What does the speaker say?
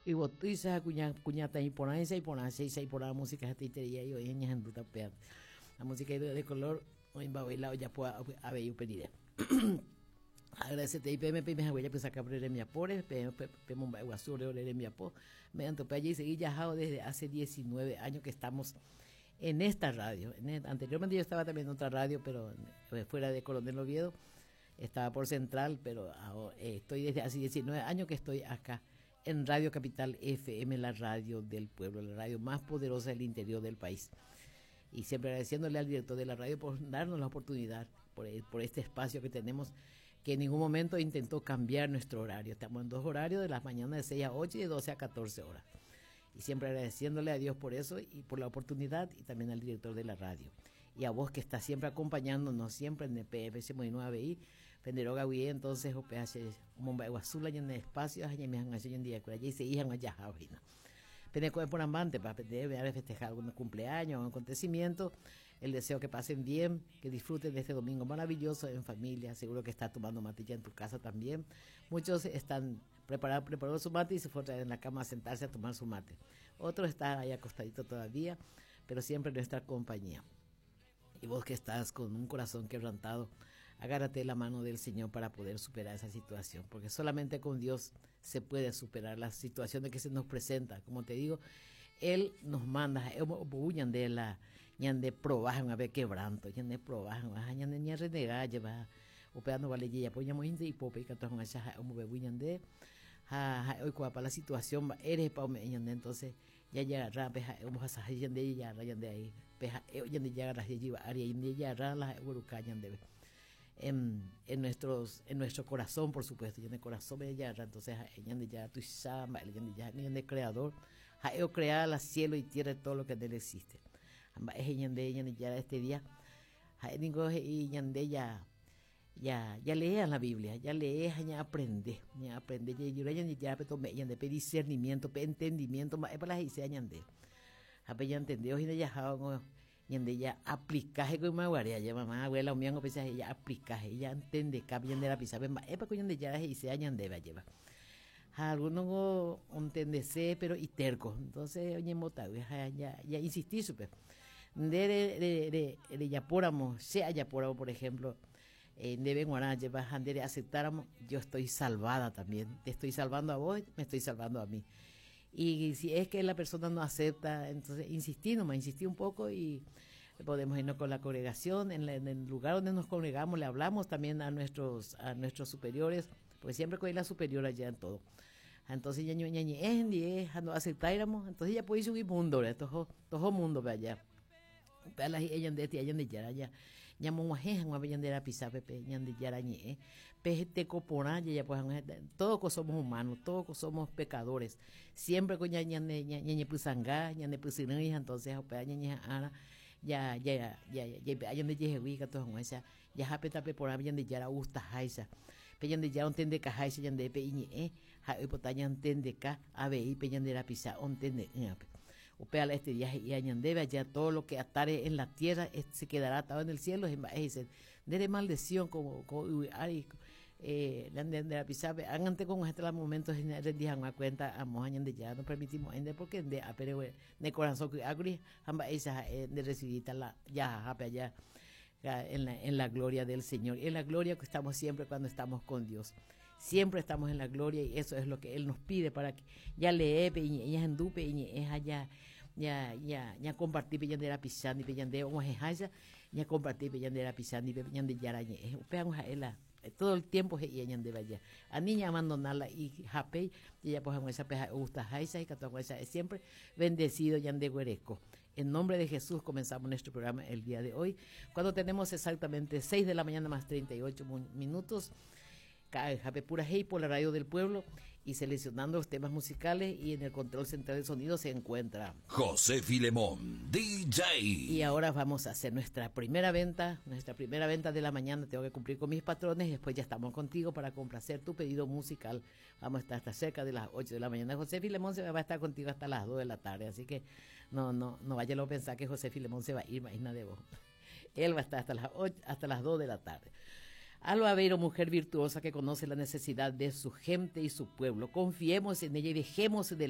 Yvotýicha ha kuña, kuñataĩ porãicha iporã chéicha iporã música hetaiterei ai oĩ ñahendúta upéva. La música de color oĩmba voi la ojapo avei upe rire. Agradecetei peẽme peime hague japysaka ore rembiapóre, peẽ pemomba'eguasu ore ore rembiapo. Mediante upéva jaisegi jahávo desde hace 19 años que estamos en esta radio. En, anteriormente yo estaba también en otra radio, pero fuera de Coronel Oviedo. Estaba por Central, pero estoy desde hace 19 años que estoy acá en Radio Capital FM, la radio del pueblo, la radio más poderosa del interior del país. Y siempre agradeciéndole al director de la radio por darnos la oportunidad, por, por este espacio que tenemos, que en ningún momento intentó cambiar nuestro horario. Estamos en dos horarios, de las mañanas de 6 a 8 y de 12 a 14 horas. Y siempre agradeciéndole a Dios por eso y por la oportunidad y también al director de la radio. Y a vos que estás siempre acompañándonos, siempre en el PFC 9 i Penderoga guie entonces OPH omomba'eguasu la ñane espacio ha ñaime hag̃ua che ñandive-kuéra jaisegi hag̃ua jahávo hína. Pene ko'ẽporãmbántepa pende refestejar algún cumpleaños o acontecimiento, el deseo que pasen bien, que disfruten de este domingo maravilloso en familia, seguro que estás tomando mate ya en tu casa también. Muchos están preparados, preparó su mate y se fue otra vez en la cama a sentarse a tomar su mate. Otros están ahí acostadito todavía, pero siempre en nuestra compañía. Y vos que estás con un corazón quebrantado, agárrate la mano del Señor para poder superar esa situación, porque solamente con Dios se puede superar la situación de que se nos presenta. Como te digo, Él nos manda, ñande la ñande probajan a ver quebranto, ñande probajan, ñande ña renega lleva, upéva no vale jajapo ñamoĩnte ipópe ikatu hag̃uáicha ha'e omombe'u ñande ha ha'e oikuaapa la situación mba'érehepa ome'ẽ ñande entonces Jajagarra pe ha'e ombohasaha ñande jajagarra ñande ai, pe ha'e ñandejagarra jejyva ári ai jajagarra la ha'e ogueruka ñandéve. En, en, nuestros, en nuestro corazón, por supuesto, ñane corazón jajagarra, entonces ha'e Ñandejára tuicha mba'e Ñandejára, ñande creador, ha'e ocrea la cielo y tierra todo lo que en él existe. Ha mba'e he'i ñande Ñandejára este día, ha'e ningo he'i ñande ya Ja, jaleea la Biblia, jalee ha ñaaprende, ñaaprende jajura Ñandejárape tome'ẽ ñande pe discernimiento, pe entendimiento mba'épa la he'iséva ñande. Ha pe ñantendévo hína jahávo ñande ja aplika heko ymaguare aja mamá, abuela umíva ngo péicha he'i ja aplika, he'i ja entendeka pe ñande rapichápe mba'épa ko Ñandejára he'iséva ñandéve ajépa. Ha alguno ngo ontendese pero iterco, entonces oñembotavy ha ja, ja insisti chupe. Nde re, re, re, rejapóramo, che ajapóramo, por ejemplo, eh, ndéve g̃uarã ajépa ha nde reaceptáramo, yo estoy salvada también, te estoy salvando a vos, me estoy salvando a mí. Y si es que la persona no acepta, entonces insistí nomás, insistí un poco y podemos irnos con la congregación, en, la, en el lugar donde nos congregamos, le hablamos también a nuestros, a nuestros superiores, porque siempre con la superior allá en todo. Entonces ya ñañe'ẽ ndie ha no aceptáiramo, entonces ya puede subir mundo, toho, toho mundo pe allá. Upéva la hi'e ñande tía Ñandejára ja ñamog̃uahẽ hag̃ua pe ñande rapichápe pe Ñandejára ñe'ẽ, pe teko porã jajapo hag̃ua todos ko somos humanos, todos ko somos pecadores. Siempre ko ña ñane ñañepysanga, ñanepysyrỹi ha entonces upéva ñañeha'ãra ja ja ja jaipe'a ñandejehegui ikatu hag̃uáicha Jaha pe tape porãme Ñandejára ogustaháicha. Pe Ñandejára ontendekaháicha ñandéve pe iñe'ẽ, ha'e oipota ñantendeka avei pe ñande rapicha ontende'ỹvape. Upéva la este día he'íva ñandéve, Allá todo lo que atare en la tierra se quedará atado en el cielo, mba'e he'ise, nde remaldeciõ ko ko yvy ári nde nde rapichápe, ág̃ante kog̃uahẽta la momento rendi hag̃ua cuenta amo ha Ñandejára nopermitimo'ãi nde porque nde ápe ne korasõ ky'ákuri ha mba'éicha ha'e nde recibíta la jahahápe aja en la, en la gloria del Señor. En la gloria que estamos siempre cuando estamos con Dios. Siempre estamos en la gloria y eso es lo que Él nos pide para que ya lee, pe iñe'ẽ, ñahendu pe iñe'ẽ ha ya ya ya ñakomparti pe ñande rapicha ndive ñande og̃uahẽháicha ñakomparti pe ñande rapicha ndive Ñandejára ñe'ẽ. Upéva ha'e la todo el tiempo he'íva ñandéve aja. Ani ñaabandona la ihape jajapo hag̃uáicha pe ha'e ogustaháicha ikatu hag̃uáicha ha'e siempre bendecido ñandeguereko. En nombre de Jesús comenzamos nuestro programa el día de hoy, cuando tenemos exactamente 6 de la mañana más 38 minutos. Ka'ayhápe purahéi por la radio del pueblo y seleccionando los temas musicales y en el control central de sonido se encuentra José Filemón, DJ. Y ahora vamos a hacer nuestra primera venta, nuestra primera venta de la mañana. Tengo que cumplir con mis patrones y después ya estamos contigo para complacer tu pedido musical. Vamos a estar hasta cerca de las 8 de la mañana. José Filemón se va a estar contigo hasta las 2 de la tarde, así que no, no, no vaya a pensar que José Filemón se va a ir, imagina de vos. Él va a estar hasta las 8, hasta las 2 de la tarde. Alba Aveiro, mujer virtuosa que conoce la necesidad de su gente y su pueblo. Confiemos en ella y dejemos de